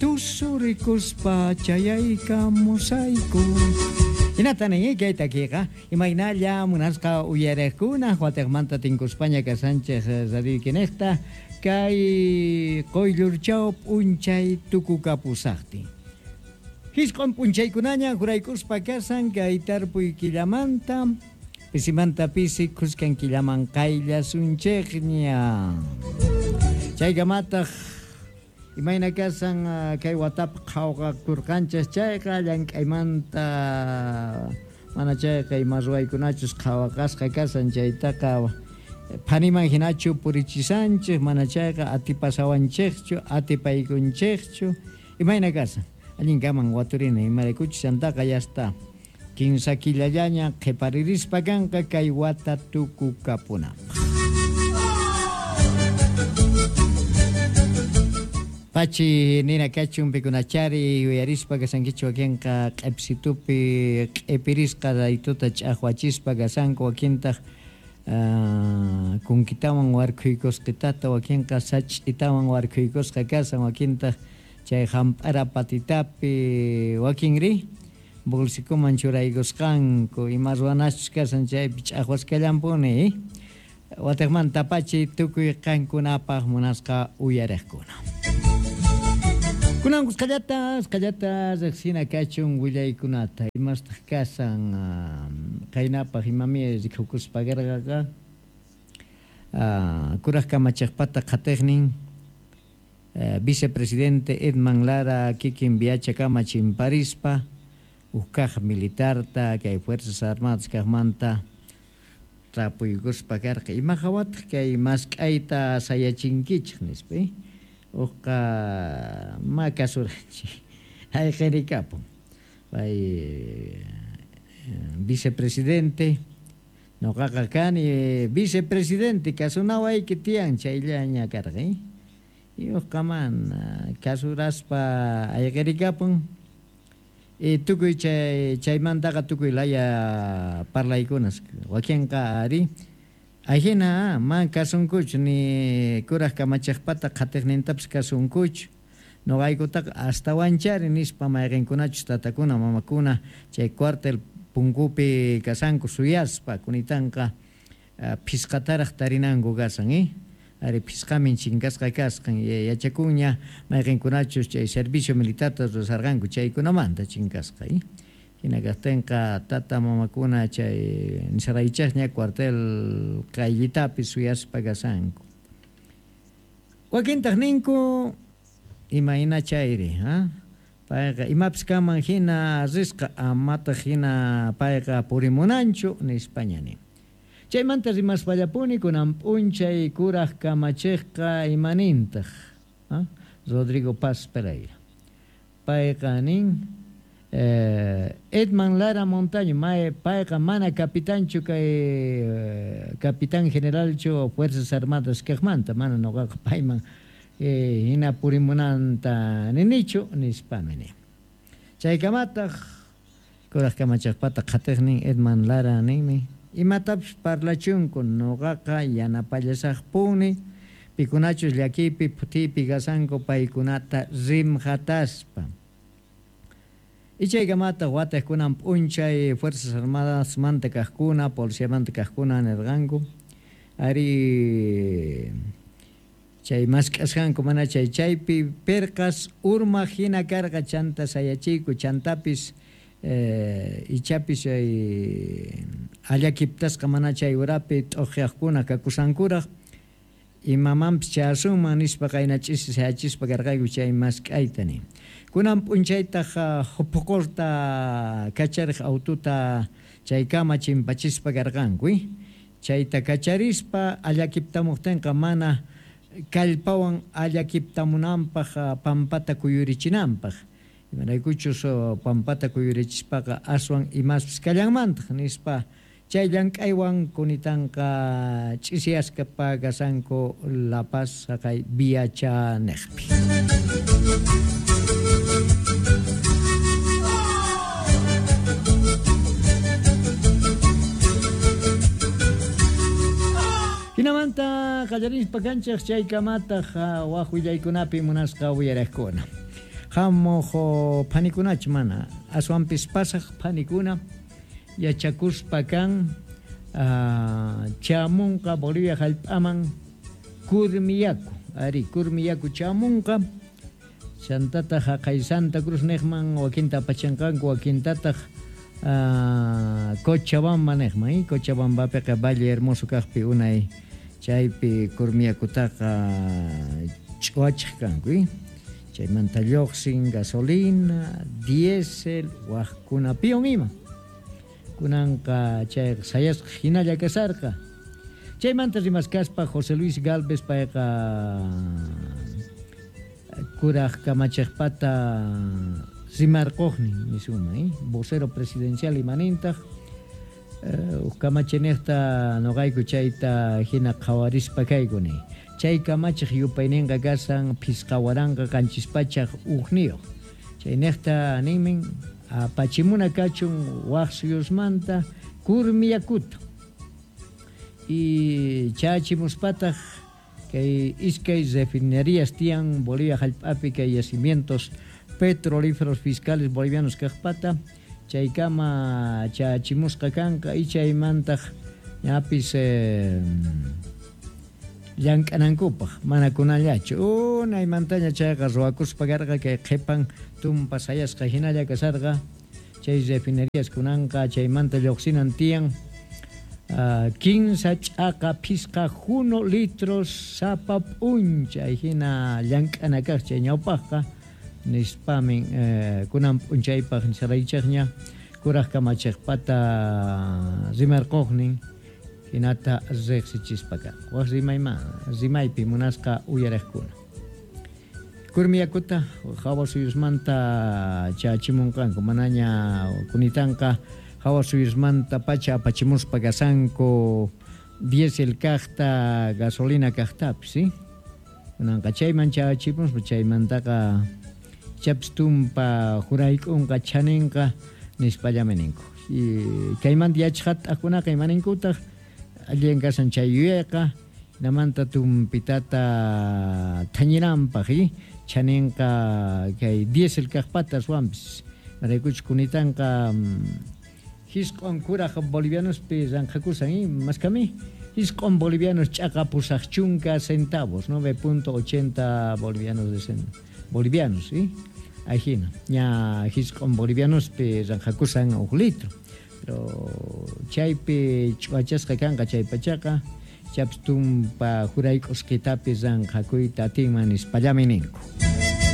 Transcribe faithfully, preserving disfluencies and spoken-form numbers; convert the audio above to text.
Tusurikuspa chayaykamusayku. Hinata nin kay takiqa imaynalla munasqa uyariqkuna watiqmanta tinkuspaña kasanchej radioykinejta kay quyllurchaw p'unchay tukukapusaqtin. Hisq'un p'unchaykunaña juraykuspa kasan kay tarpuy killamanta pisimanta pisi khuskan killaman qayllasunchikña. Chaykamataq imayna kasan kay watap qhawqakurqanchis chayqa llank'aymanta mana chayqa ima ruwaykunachus qhawaqasqa kasan chaytaqa phaniman hinachu purichisanchik mana chayqa atipasawanchikchu atipaykunchikchu imayna kasan allinkaman waturina imaraykuchus chantaqa yasta kinsa killallaña qhiparirispa kanqa kay wata tukukapunapaq. Pachi nina kachun pikunachari yuyarispa kasankichu wakinqa q'ipsitupi q'ipirisqa raytuta ch'aqwachispa kasanku wakintaq uh, kunkitawan warkhuykusqitata wakinqa sach'itawan warkhuykusqa kasan wakintaq chay hamp'ara patitapi wakinri bolsikuman churaykusqanku ima ruwanachus kasan chaypi ch'aqwasqallampuni watiqmanta pachi tukuy qankunapaq munasqa uyariqkuna. Kunan qallata qallata riqsina kachun willaykunata imastaq kasan qaynapaq imami rikukuspa karqaqa kuraq kamachiqpata qhatiqnin vicepresidente Edman Lara kikin viachakama chimparispa ukkaq militarta kay Fuerzas Armadas kaqmanta tapuykuspa karqa ima hawataq kay mask'ayta sayachinkichik nispa uqqa ma kasuranchik ayqirikapun pay vicepresidente noqaqa kani vicepresidente kasunawayki tiyan chayllaña karqa y uqqa mana kasuraspa ayqirikapun y tukuy chay chaymantaqa tukuy laya parlaykunas wakinqa ari ajina man kasunkuchu ni kuraq kamachiqpata qhatiqnintapis kasunkuchu noqaykutaqa astawanchari nispa mayqinkunachus tatakuna mamakuna chay cuartel punkupi kasanku suyaspa kunitanqa phisqataraq tarinanku kasan eh ari phisqamin chinkasqa kasqan yachakunña mayqinkunachus chay servicio militarta rurasarqanku chaykunamanta chinkasqa eh hina kaqtinqa tata mamakuna chay nisaraychaqña cuartel qayllitapi suyaspa kasanku wakintaq ninku imayna chayri ha payqa imapis kanman hina risqa amataq hina payqa purimunanchu nispaña nin. Chaymanta rimaspallapuni kunan p'unchay kuraq kamachiqqa imanintaq ha Rodrigo Paz Pereira payqa nin Eh, Edman Lara Montaño mae payqa mana capitanchu kay eh, capitán generalchu Fuerzas Armadas kaqmanta mana noqaqa payman eh, hina purimunanta ninichu nispami nin. Chaykamataq kuraq kamachiqpata qhatiqnin Edman Lara ninmi imatapis parlachunku noqaqa yanapallasaqpuni pikunachus llakiypi phutiypi kasanku paykunata rimqataspa. Ichaykamata watiqkunan p'unchay Fuerzas Armadas manta kaqkuna, policiamanta kaqkuna nirqanku ari chay mask'asqanku mana chay chaypi pirqas urmaq hina karqa chanta sayachiyku chantapis eh, ichapis chay allakiptasqa mana chay urapi t'uqyaqkuna kakusankuraq imamanpis chayasunman nispa qayna ch'isi sayachispa karqayku chay mask'ayta nin. Kunan p'unchaytaq puqurta kachariq aututa chaykama chimpachispa karqanku chayta kacharispa allakiptamuqtinqa mana kallpawan allakiptamunanpaq pampata kuyurichinanpaq imaraykuchus pampata kuyurichispaqa aswan imaspis kallanmantaq nispa chay llank'aywan kunitanqa ch'isiyasqa pagasanku La Paz haqay Viachanejpi. Hinamanta qallarispa kanchik chaykamataq waq willaykunapi munasqa uyariqkuna. Hamuq phanikunachu mana, aswanpis pasaq phanikuna yachakuspa kan uh, chamunqa Bolivia hallp'aman kurmiyaku, ari kurmiyaku chamunqa, chantataq haqay Santa Cruz niqman wakinta apachinqanku, wakintataq uh, Cochabamba niqman, eh? Cochabambapiqa Valle Hermoso kaqpi unay chaypi kurmiyakutaqa ch'uwachiq kanku, eh? Chaymanta lluqsin gasolina, diésel, waqkunapiwan ima. Kunanqa chayqa sayasqa hinalla kasarqa. Chaymanta rimaskaspa José Luis Gálvez payqa kuraj kamachiqpata rimarquqnin nisuma, eh? Vocero presidencial imanintaq uh, kamachiniqta noqayku chayta hina qhawarispa kaykuni. Chay kamachiq yupayninqa kasan phisqa waranqa qanchis pachaq ujniyuq. Chayniqta ninmin apachimuna kachun waq suyusmanta kurmiyakuta. Y chachimuspataq kay iskay refinerías tiyan Bolivia hallp'api kay yacimientos petrolíferos fiscales bolivianos kaqpata chaykama chachimusqa kanqa y chaymantaq ñapis eh, llank'anankupaq mana kunallachu unaymantaña chayqa ruwakuspa karqa kay qhipan tumpa sayasqa hinalla kasarqa chay refinerías kunanqa chaymanta lluqsinan tiyan uh, kinsa ch'aqa phisqa juno litros sapa p'unchay hina llank'ana kaq chay ñawpaqqa nispamin eh, kunan p'unchaypaq nisaraychaqña kuraj kamachiqpata rimarquqnin hinata riqsichispa kanku. Waq rimayman rimaypi munasqa uyariqkuna. Kurmiyakuta hawa suyusmanta chachimunqanku manaña kunitanqa hawa suyusmanta pacha apachimuspa kasanku diésel kaqta gasolina kaqtapis, ¿sí? Kunanqa chayman chachimuspa chaymantaqa chapis tumpa jurayk'unqa chaninqa nispallami ninku. Y kaymanta yachaqat'aqkunaqa imaninkutaq allin kasan chay yuyayqa namanta tumpitata thañinanpaq, ¿sí? Chaninqa kay diésel kaqpata aswanpis maraykuchus kunitanqa hisq'on kuraj bolivianospi ranqhakusan, ¿eh? Maskami hisq'on bolivianos ch'aqa pusaq chunka centavos, nueve punto ochenta bolivianos de cent bolivianos, ¿sí? Ahí ña hisq'on bolivianospi ranqhakusan uj litro. Pero chaypi ch'uwachasqa kanqa chay pachaqa chapis tumpa jurayk'usqitapi ranqhakuyta atinman nispallami ninku.